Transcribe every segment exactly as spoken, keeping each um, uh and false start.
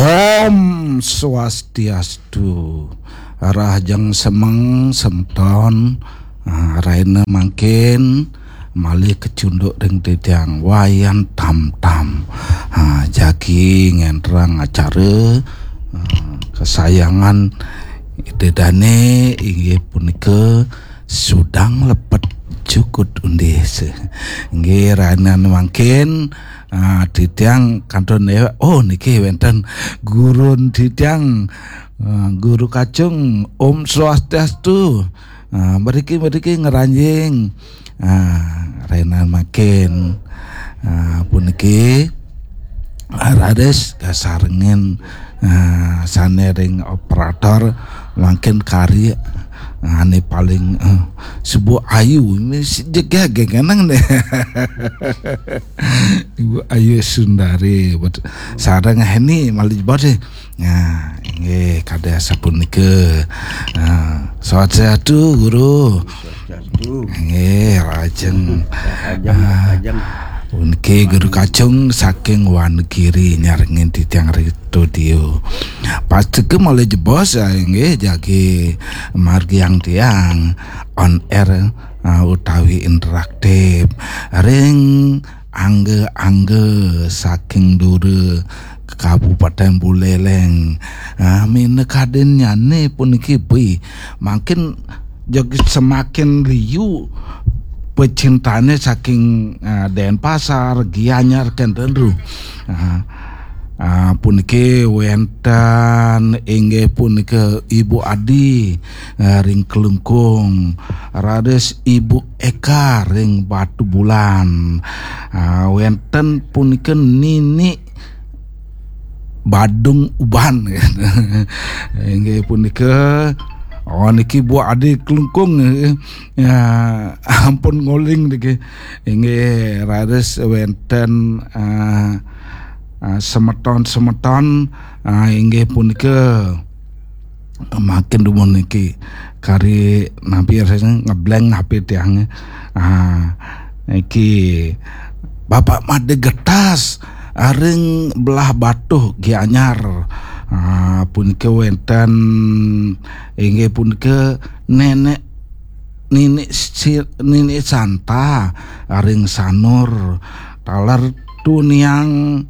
Om Swastiastu. Rahajeng semeng semeton, ah, rahina mangkin malih kecunduk ring titiang Wayan Tamtam. Ah, jagi ngenterang acara, ah, kesayangan Ida Dane inggih punika Sudang Lepet Jukut Undis. Inggih, rahina mangkin, ah, titiang kantun, oh, niki wenten gurun titiang, ah, Guru Kacung. Om Swastiastu. Ah, mriki, mriki ngranjing. Ah, rahina mangkin, ah, puniki, ah, raris kasarengin, ah, sane ring operator mangkin kari, ah, ane paling, eh, Ibu Ayu, ini si jegege kenang deh. Ibu Ayu Sundari, bet-, sareng Heni malih jebos deh. Nah, nggih, kadi asapunika. Nah, swastiastu, Guru. Swastiastu. Nggih, lajeng. Lajeng, ah, lajeng. Puniki Guru Kacung saking Wonogiri nyarengin titiang ring studio. Pastika malih jebos, ah, nggih, jagi margiang tiang on air, ah, utawi interaktif ring angga-angga saking dura Kabupaten Buleleng. Ah, minakadinnyane puniki, bih, mangkin jeg semakin liu pecintane saking, ah, Denpasar, Gianyar, kenten ru. Ah, ah, puniki wenten inggih punika Ibu Adi, ah, ring Klungkung, raris Ibu Eka ring Batubulan. Ah, wenten punika Nini Badung Uban. Inggih punika, oh, niki Bu Adi Klungkung, eh. Ya, ampun nguling niki. Inggih, raris wenten, ah, ah, semeton-semeton, ah, inggih punika mangkin dumun niki kari nampi rasanya ngeblank H P tiangnya. Ah, niki Bapak Made Getas, ah, ring Blahbatuh Gianyar. Ah, punika wenten inggih punika Nenek Nini Si-, Nini Santa, ah, ring Sanur, taler Tuniang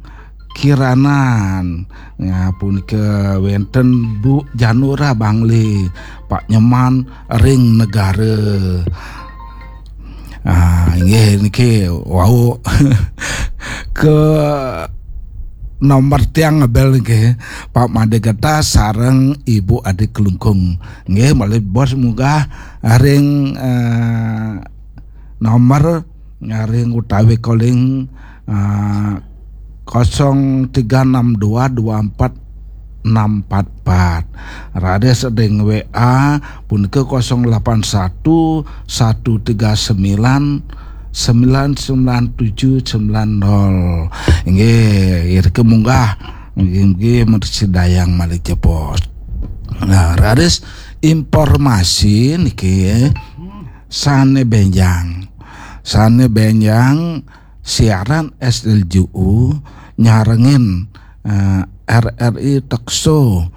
Kiranan. Ya, punika wenten Bu Janura Bangli, Pak Nyoman ring Negara. Ah, inggih niki wau ke nomor tiang ngebel niki, Pak Made Getas sareng Ibu Adi Klungkung. Nggih, malih bos munggah ring, eh, nomor nyaring utawi calling, ah, kosong tiga enam dua dua empat enam empat empat. Raris ring W A punika kosong delapan satu satu tiga sembilan sembilan sembilan tujuh sembilan nol. Inggih, irika munggah. Inggih, inggih, mrsidayang malih jebos. Nah, raris informasi niki, sane benjang. Sane benjang siaran S L J U nyarengin, eh, R R I Tekso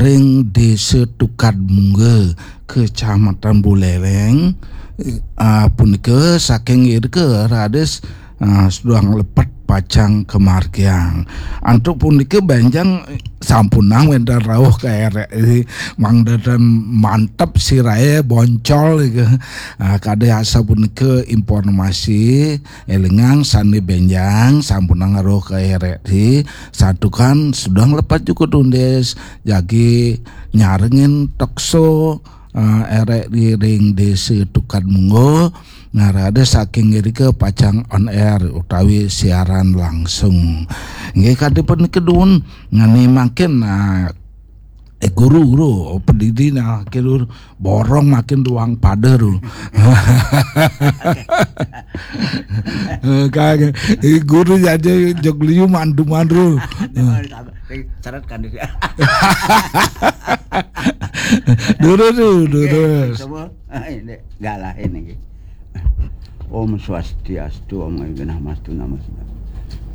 ring Desa Tukad Mungga, Kecamatan Buleleng. Eh, punika saking irika raris, eh, Sudang Lepet pacang kamargiang. Antuk punika benjang sampunang wenten rauh ka R R I, mangda ten mantep sirahe boncol ika. Ah, kadi asapunika informasi, elingang sane benjang sampunang rauh ka R R I, santukan Sudang Lepet Jukut Undis jagi nyarengin Tekso, eh, R R I ring Desa Tukad Mungga. Nah, raris saking irika pacang on air utawi siaran langsung. Inggih, kadi punika dumun, ngani mangkin, ah, eh, guru, guru, pedidi nah, kira borong makin ruang pada ru. Eh, kagak. Eh, guru jadi jog liu mandu-mandu. Syarat kan dia. Dulu, dulu, dulu. Semua. Ah, ini, enggak lah ini. Om Swastiastu, Om Genah Mastu, Namo Siddham.